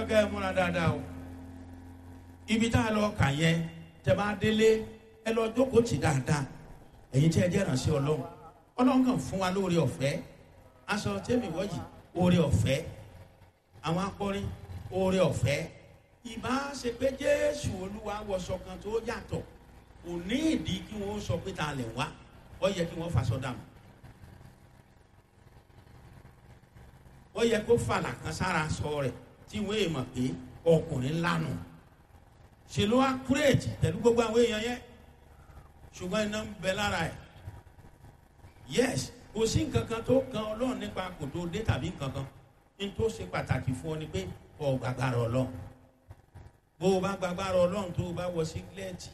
fẹ́ kẹ́ ẹ múra dáadáa o. Ibi tá a lọ kà yẹn, tẹ́ bá délé, ẹ lọ jókòó tì dáadáa. Ẹ̀yin tí ẹ jẹ́ ìrànṣẹ́ Ọlọ́run, Ọlọ́run kàn fún wa lóore ọ̀fẹ́. Aṣọ tẹ́mi wọ́yì, oore ọ̀fẹ́. Àwọn akọrin, oore ọ̀fẹ́. Ìbá ṣe pé Jésù Olúwa wọṣọ kan tó yàtọ̀, kò ní ìdí kí wọ́n sọ pé ta lẹ̀ wá. Ó yẹ kí wọ́n faṣọ dànù. Ó yẹ kó fàlà kan sára sọ rẹ̀ tí wọ́n èèmọ̀ pé ọkùnrin lánà. Ṣe ló wá kúrèjì pẹ̀lú gbogbo àwọn èèyàn yẹn, ṣùgbọ́n iná ń bẹ lára ẹ̀. Yes, kò sí nǹkan kan tó kan Ọlọ́run nípa kò tó dé tàbí nǹkan kan. Ní tó ṣe pàtàkì fún ọ ni pé ọ gbàgbára Ọlọ́run. Bó o bá gbàgbára Ọlọ́run, tó o bá wọ sígílẹ́ẹ̀tì,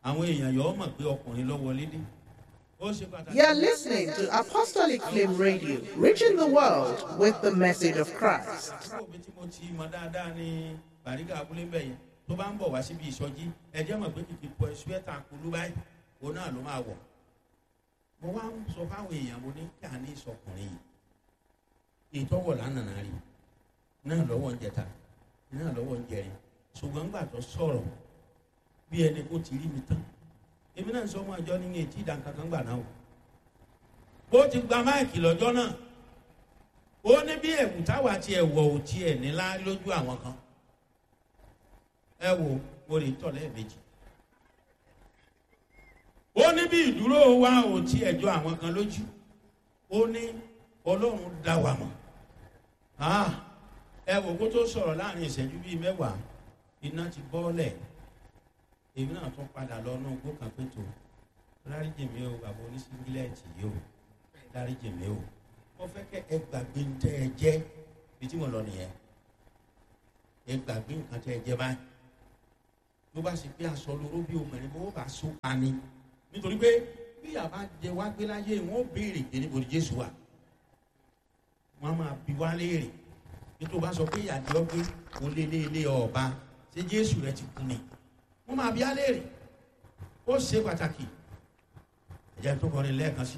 àwọn èèyàn yọ ọ mọ̀ pé ọkùnrin ló wọlé dé. Ó ṣe pàtàkì. You are listening to Apostolic Flame Radio, reaching the world with the message of Christ. Àbúrò mi tí mo ti mọ dáadáa ní Bàrígà abúlé ń bẹ̀ yẹn, tó bá ń bọ̀ wá síbi ìsọjí, ẹ jẹ́ mọ̀ pé kìkì pọ̀ ṣúẹ́tà kulú báyìí, òun náà ló máa wọ̀. Mo wá ń sọ fáwọn èèyàn, mo ní kí a ní ìsọkùnrin yìí. Ìtọ́wọ̀ lánàá rí náà lọ́wọ́ ń jẹta náà lọ́wọ́ ń jẹrin, ṣùgbọ́n gbà tó sọ̀rọ̀ bí ẹni kó ti rí mi tán, èmi náà ń sọ ọmọ àjọ ní etí ìdánkankan gbà náà o. Bó ti gba máìkì lọ́jọ́ náà, ó ní bí ẹ̀wù táwa ti ẹ̀wọ̀ ò tiẹ̀ nílá lójú àwọn kan. Ẹ wo, mo lè tọ̀ lẹ́ẹ̀mejì. Ó ní bí ìdúró wa ò tí ẹjọ́ àwọn kan lójú. Ó ní Ọlọ́run dá wa mọ̀. Ah, ẹ wò kó tó sọ̀rọ̀ láàrin ìṣẹ́jú bíi 10, iná ti bọ́ọ̀lẹ̀. Èmi náà tún padà lọ inú igbó kan pé tó dáríjì mi o, bàbá oníṣíngílẹ̀tì yìí o, dáríjì mi o. Mo fẹ́ kẹ́ ẹ gbàgbé ń tẹ́ ẹ jẹ́ bí tí mo lọ nìyẹn. Ẹ gbàgbé nǹkan tẹ́ ẹ jẹ́ báyìí. Ló bá ṣe pé aṣọ lóró bí obìnrin bó bá so pa ni, nítorí pé bí àbá jẹ wá gbé láyé, wọn ó béèrè pé níbo ni Jésù wà. Wọn máa bi wá léèrè. Nítorí bá sọ pé ìyàdí ọgbẹ kò lé lé lé ọba, ṣé Jésù rẹ ti kú ni? Wọn máa bi á léèrè. Ó ṣe pàtàkì. Ẹ̀jẹ̀ tó kọrin lẹ́ẹ̀kan sí.